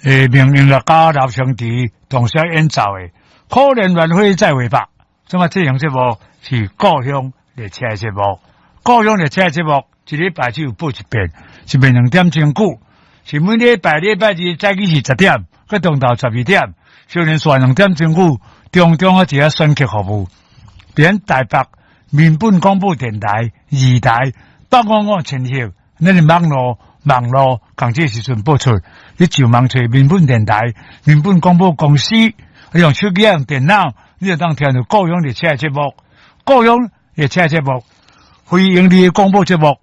名音樂家劉清池同時演奏的《可憐鸞飛再會吧》。這麼這樣節目是故鄉列車的節目，故鄉列車的節目一禮拜只有播一遍，是每2點鐘久，是每禮拜禮拜二早起是10點，閣中晝12點，小連續2點鐘久，中中啊一個選曲服務，佇台北民本廣播電台二台855千赫，咱的網路網路仝這時陣播出，你上網揣民本電台、民本廣播公司，你用手機用電腦，你就當聽著故鄉列車的節目，故鄉列車的節目，非營利的廣播節目，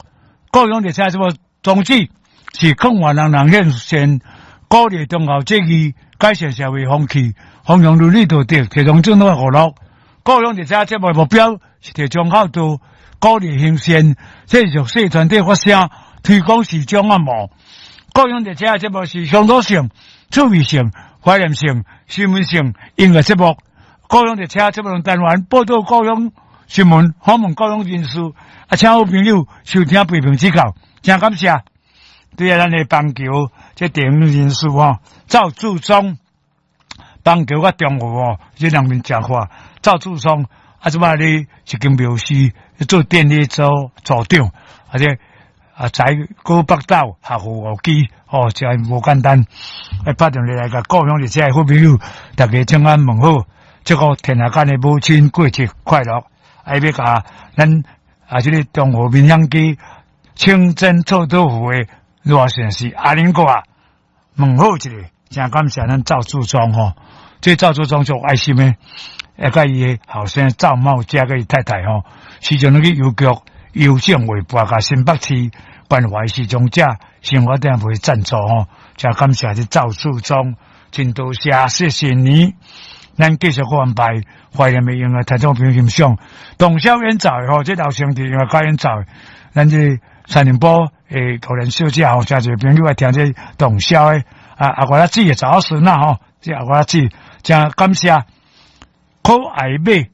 故鄉列車的節目宗旨是勸願人人獻善，鼓勵忠孝節義，改善社會風氣，弘揚倫理道德，提倡正當娛樂。故鄉列車節目的目標是提倡孝道，鼓勵行善，這是弱勢團體發聲，推廣時裝按摩。故鄉列車節目是鄉土性、趣味性、懷念性、新聞性音樂節目。故鄉列車節目單元報導故鄉新聞，訪問故鄉人士，啊，請好朋友收聽批評指教，真感謝。對啊，咱的邦橋這電影人士吼，趙志忠，邦橋佮中和吼，這兩邊誠闊。趙志忠啊，這擺咧一間廟司做電力組組長，而且啊，在高北斗學府五期，哦，真無簡單。啊，拍電話來共故鄉列車的好朋友，大家請安問好，祝福天下間的母親過節快樂。啊，欲共咱啊，這个中和民享街清真臭豆腐的熱線是阿玲哥啊，問好一下，真感謝咱趙志忠吼，這趙志忠足愛心的，啊，佮伊的後生趙茂家佮伊太太吼，時陣攏去郵局郵政委撥共新北市關懷失聰者生活電費贊助吼，真感謝這趙志忠，真多謝，謝謝你。咱繼續閣安排懷念的音樂聽眾朋友欣賞，董瀟演奏的吼，這劉生弟音樂家演奏的，咱這三重埔的高蓮小姐吼，誠濟朋友愛聽這董瀟的啊，阿我仔姊的查某孫仔吼，這阿我仔姊真感謝，可愛馬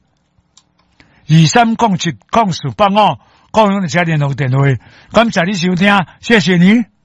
23070485，故鄉列車聯絡電話，感謝你收聽，謝謝你。